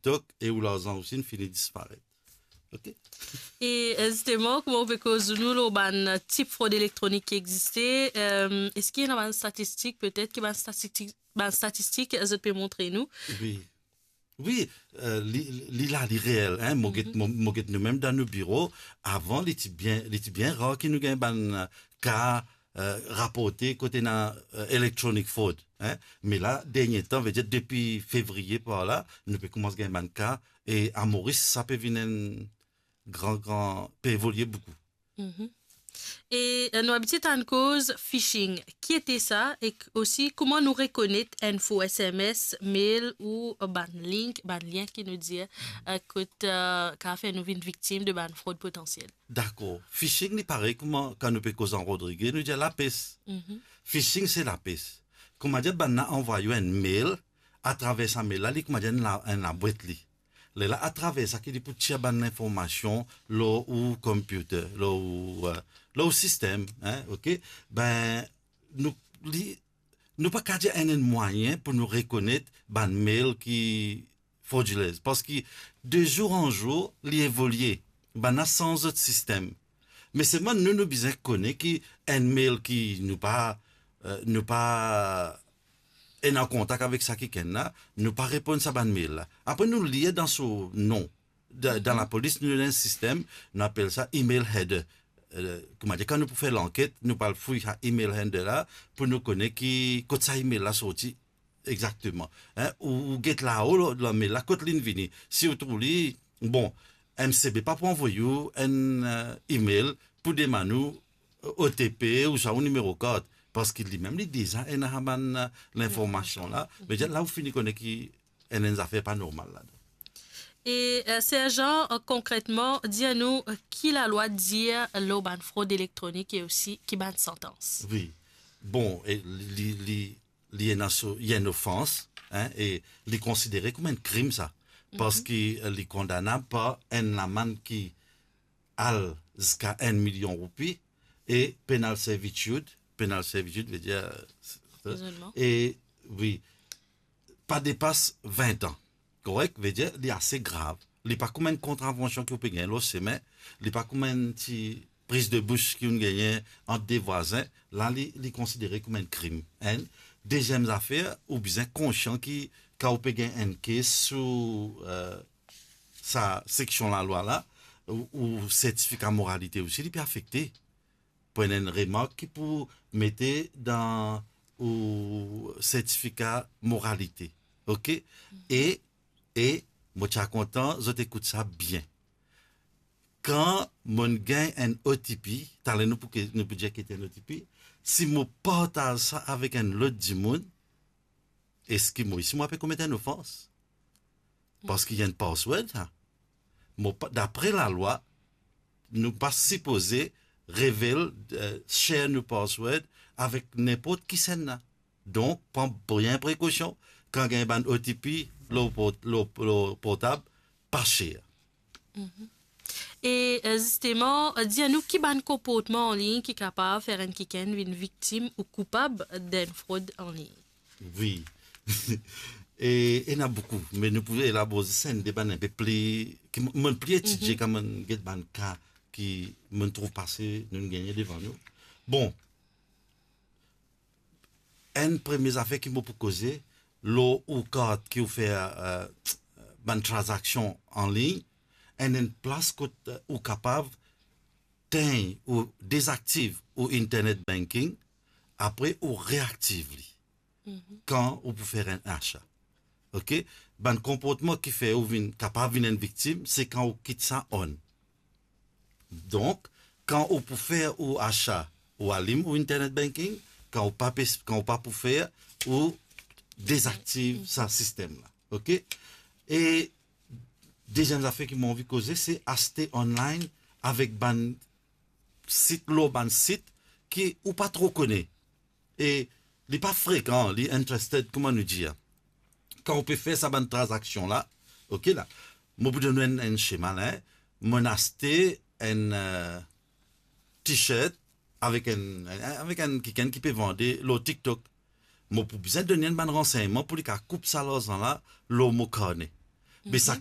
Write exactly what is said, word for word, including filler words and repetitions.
TikTok e ou larzan osi inn fini disparet. Ok? E, eh, zisteman, kouma ou pe koz nou lor bann tip frod elektronik ki existe, eh, eski ena bann statistik, petet ki bann statistik, bann statistik zot pe montre nou? Wi. Wi, eh, li, li la, li reel, hein. Mo get, mo, mo get nou mem dan nou biro, avan, li ti bien, li ti bien rar ki nou gagn bann, eh, ka, eh, raporte kot ena, eh, electronic fraud, hein. Me la, dernie tan, vedir depi fevriye par la, nou pe koumans gagn bann ka, e a Moris, sa pe vinn enn gran, gran, pe evolie boukou. Mhm. E, eh, nou abitie tann koz phishing. Ki ete sa? E k-, osi, kouma nou rekonet enn fo S M S, mail ou bann link, bann lien ki nou dir, eh, kot, eh, kapav fer nou vinn viktim de bann frod potansiel? Dakor. Phishing, li parey kouma kan nou pe koz an Rodrige, nou dir lapes. Mhm. Phishing, se lapes. Kouma dir, bann la anvway ou enn mail, atraver sa mail la, li kouma dir enn la, enn labwet li. Lerla atraver sa ki li pou tir bann linformasion lor ou computer, lor ou, eh, lor ou sistem, hein, ok? Ben, nou, li, nou pa kapav dir enn, enn mwayin pou nou rekonet bann mail ki frodilez, parski de zour an zour, li evolie, bann la sanz zot sistem. Me selman nou, nou bizin kone ki enn mail ki nou pa, eh, nou pa ena kontak avek sa kikenn la, nou pa reponn sa bann mail la. Apre nou lir dan so non. Da-, dan lapolis, nou ena enn sistem, nou apel sa email header. Eh, kouma dir, kan nou pou fer lanket, nou pou al fouy sa email header la, pou nou kone ki, kot sa email la sorti exakteman. Hein, ou, ou get lao lor, lor mail la, kot li'nn vini. Si ou trouv li, bon, M C B pa pou anvoy ou enn, eh, email pou demann ou, eh, O T P ouswa ou nimero kart, parski limem li deza ena sa bann, eh, linformasion la. Me la ou fini kone ki ena enn zafer pa normal ladan. E, eh, Serjan, eh, konkretman, dir nou, eh, ki lalwa dir lor bann frod elektronik e osi ki bann santans? Wi. Bon, e li, li, li, li ena so, li enn ofans, hein, e li konsidere kouma enn krim sa. Mhm. Parski, eh, li kondanab par enn lamann ki al ziska enn milion roupi e penal servitude, penal servitude vedir, eh, Prizonman. E, wi, pa depas vin an. Korek? Vedir, li ase grav. Li pa kouma enn kontravansion ki ou pe gagn lor semin, li pa kouma enn ti priz de bous ki ou'nn gagne ant de vwazin, la li, li konsidere kouma enn krim. Enn. Deziem zafer, ou bizin konsian ki kan ou pe gagn enn kes sou, eh, sa seksion lalwa la, ou, ou sertifika moralite osi, li pe afekte. Pou ena enn remark ki pou mete dan ou sertifika moralite. Ok? E, e mo ti a kontan zot ekout sa bien. Kan mo'nn gagn enn O T P, taler nou pou ke, nou pou dir ki ete enn O T P, si mo partaz sa avek enn lot dimoun, eski mo, si mo pe komet enn ofans? Parski li enn password, sa. Mo pa, dapre lalwa, nou pa sipoze revel, eh, share nou password avek ninport kisannla. Donk, pran bien prekosion kan gagn bann O T P lor port-, lor, lor portab, pa share. Mhm. E, eh, zisteman, eh, dir nou ki bann konportman anlign ki kapav fer enn kikenn vinn viktim ou koupab d'enn frod anlign? Wi. E, ena boukou, me nou pou elabor zis enn de bann inpe pli, ki mo, mo'nn pli etidie, mhm, kan mo'nn get bann ka ki mo'nn trouv pase, nou'nn gagne devan nou. Bon, enn premie zafer ki mo pou koze, lor ou kart ki ou fer, eh, bann tranzaksion anlign, enn, enn plas kot, eh, ou kapav tegn ou dezaktiv ou internet banking, apre ou reaktiv li, mhm, kan ou pou fer enn asa. Ok? Bann konportman ki fer ou vinn, kapav vinn enn viktim, se kan ou kit sa on. Donk, kan ou pou fer ou asa, ou alim ou internet banking, kan ou pa pe, kan ou pa pou fer, ou dezaktiv sa sistem la. Ok? E deziem zafer ki mo anvi koze, se aste online avek bann sit, lor bann sit ki ou pa tro kone. E li pa frekan, li interested, kouma nou dir. Kan ou pe fer sa bann tranzaksion la, ok la, mo pou donn ou enn, enn sema la, hein. Mo'nn aste enn, eh, t-shirt avek enn, avek enn kikenn ki pe vande lor TikTok. Mo pou bizin donn li enn bann ransegnman pou li kapav koup sa larzan la lor mo karne. Be sa